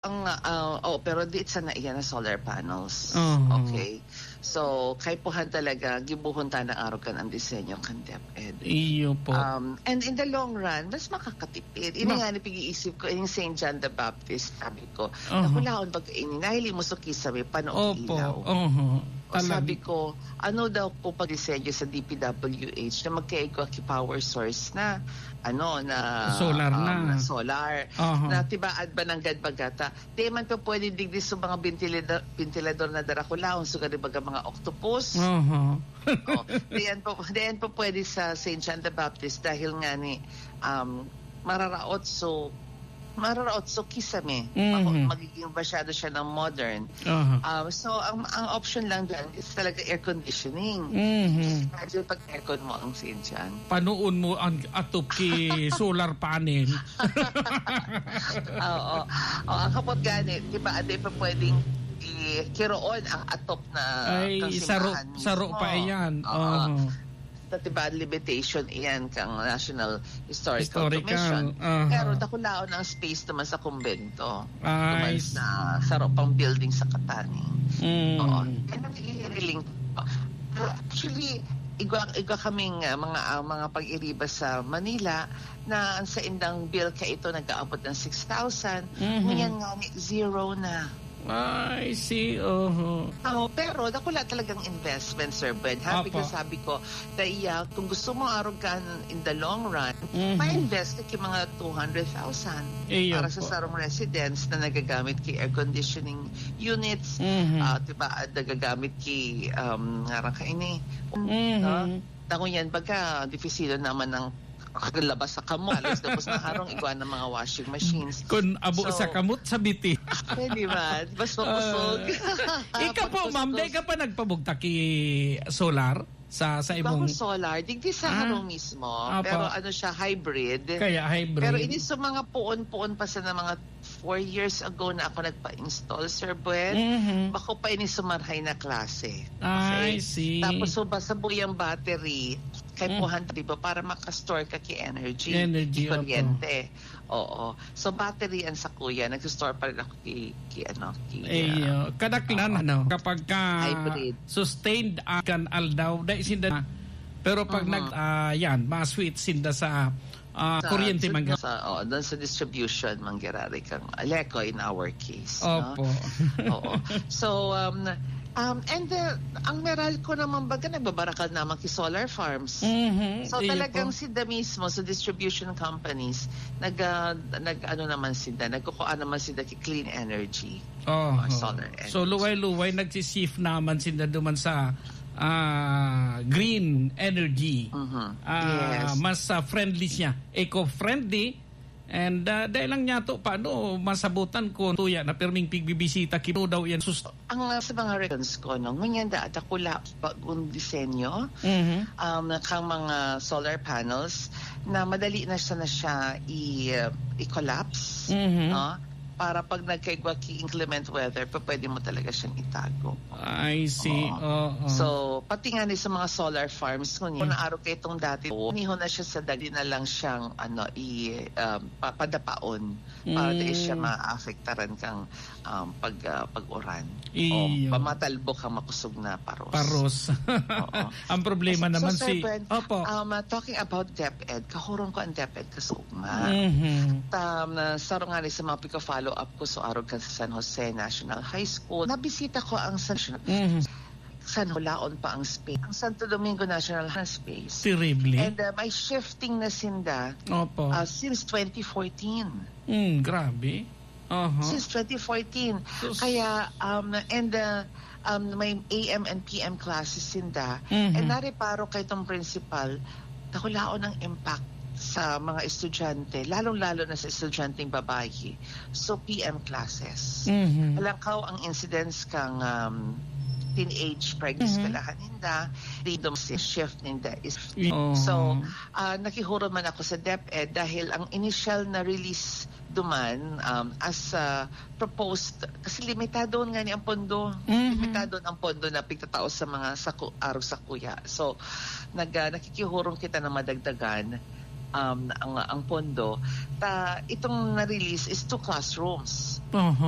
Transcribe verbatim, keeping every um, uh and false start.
Ang, ah, oh, pero di sana iyan na solar panels. Oo. Okay. So, kaipuhan talaga, gibohon ta na arog kan ang disenyo kan DepEd. Iyo po. Um, and in the long run, mas makakatipid. Ini Ma- nga ni pag-iisip ko, yung Saint John the Baptist, sabi ko, Aha. nakulaon pag ini, nahili mo sa kisame, pano Opo. ilaw. Oho. O, sabi ko, ano daw po pag-disenyo sa D P W H na magkaigwa ki power source na, ano, na Solar um, na. na solar, Aha. na tibaad ba ng gadbagata? Di man pa pwede digdi sa mga ventilador, ventilador na darakulaon, so gani baga mga octopus. Oho. Oh, diyan po, diyan po pwede sa Saint John the Baptist dahil nga ni um, mararaot so mararaot so kisame. Mhm. Mag- magiging masyado siya ng modern. Aha. Um, so ang ang option lang diyan is talaga air conditioning. Mhm. Imagine pag aircon mo ang Saint John. Panoon mo ang atop ki solar panel. Oo. O, ang kapot gani, di ba, di pa pwedeng i- kiroon ang atop na Ay, kang saro, simbahan saro mismo. pa iyan. Oo. Oo. Sa, di ba, limitation iyan kang National Historical, Historical, Commission. aha. Pero dakulaon ang space naman sa kumbento. Ay, Naman s- sa saro pang building sa Catani. Mm. Oo. And naghihiling. Actually, igwa, igwa kaming ah, mga ah, mga pag-iriba sa Manila na ang sa indang bill ka ito nag-aabot ng six thousand. Mhm. Ngunyan nga ni zero na. I see. Oho. Oo, pero dakula talagang investment, Sir Ben. Ha? Opo. Because sabi ko, daya, kung gusto mo arog ka in the long run, Mhm. ma-invest ka ki mga two hundred thousand Iyo para sa po. sarong residence na nagagamit ki air conditioning units, Mhm. ah, diba, at nagagamit ki um, ngarang kaini. Mhm. No? Tango yan, baga, dipisilo naman ng labas sa kamot. Alos tapos na harong igwa ng mga washing machines. Kung abo So, sa kamot, sa biti. Pwede ba? Mas makusog. Ah. Ikaw po, ma'am, Pagkuskus. Di ka pa nagpabugtak ki solar sa sa Iba ko imong... solar, digdi sa Ah. harong mismo, Apa. Pero ano siya, hybrid. Kaya hybrid. Pero ini sa mga puon-puon pa sa mga four years ago na ako nagpa-install, Sir Buen, Mhm. bako pa ini sumarhay na klase. I see. Tapos so, basta buyang battery, kay Mm. puhan, di ba, para makastore ka ki energy, Energy, ki kuryente. Oo. So, battery ang sakuya, nag-store pa rin ako ki, ki ano, ki... Eh, ah, uh, kadaklan, ano, kapag ka Hybrid. sustained uh, kan aldaw, dai sinda na. Pero pag Mhm. nag, ah, yan, ma-switch sinda sa ah, sa, kuryente sa, man. Sa, oh, doon sa distribution, manggirari kang Aleco in our case. Opo. No? Oo. So, um, um, and uh, ang Meralco naman baga, nagbabarakal naman ki solar farms. Mhm, So iyo talagang po. Sila mismo sa distribution companies, nag, ah, nag ano naman sila, nagkukuha naman sila ki clean energy Oh, or solar energy. So luway-luway nagsishift naman sila duman sa ah, green energy. Mhm. Ah, Yes. Mas ah, friendly siya, eco-friendly. And ah, dahil lang niya to, paano masabutan ko tuya na pirming pigbibisita kito daw yan sus- Ang ah, sa mga records ko, no, ngunyan da dakula bagong disenyo Mhm. um, kang mga solar panels na madali na siya na siya i, i-collapse, Mhm. no? Para pag nagkaigwa ki inclement weather, pa pwede mo talaga siyang itago. I see. Oo. Oo. So, pati nga ni sa mga solar farms, kung mm. Naaro kayo itong dati, niho na siya sa dali na lang siyang ano, i, um, pa- padapaon para Mm. di siya maapektaran kang um, pag, ah, pag-uran. Iyo. O pamatalbok ang makusog na paros. Paros. Oo. Ang problema So, naman Sir si... Bren, Opo. um, uh, talking about DepEd, kahurong ko ang DepEd kasugma. Mhm. Um, uh, sa nga ni sa mga pika-follow up ko, so arog kan sa San Jose National High School, nabisita ko ang San, Mhm. San Jose, laon pa ang space. Ang Santo Domingo National Space. Terrible. And uh, may shifting na sinda Opo. uh, since twenty fourteen. Mm, grabe. Aha. Since twenty fourteen. Sus. Kaya, um, and uh, um, may A M and P M classes sinda. Mhm. And nareparo kay itong principal, nakulaon ang impact sa mga estudyante, lalong-lalo na sa estudyanteng babayi. So, P M classes. Mhm. Alangkaw ang incidence kang um, teenage pregnancy eskwelahan ninda, freedom shift ninda is... Oo. So, ah, nakihuro man ako sa DepEd dahil ang initial na release duman um, as ah, proposed, kasi limitado nga ni ang pondo. Mhm. Limitado ang pondo na pigtatao sa mga saku, arog sakuya. So, nag, ah, nakikihurong kita na madagdagan um, ang, ang pondo. Ta, itong na-release is two classrooms. Aha.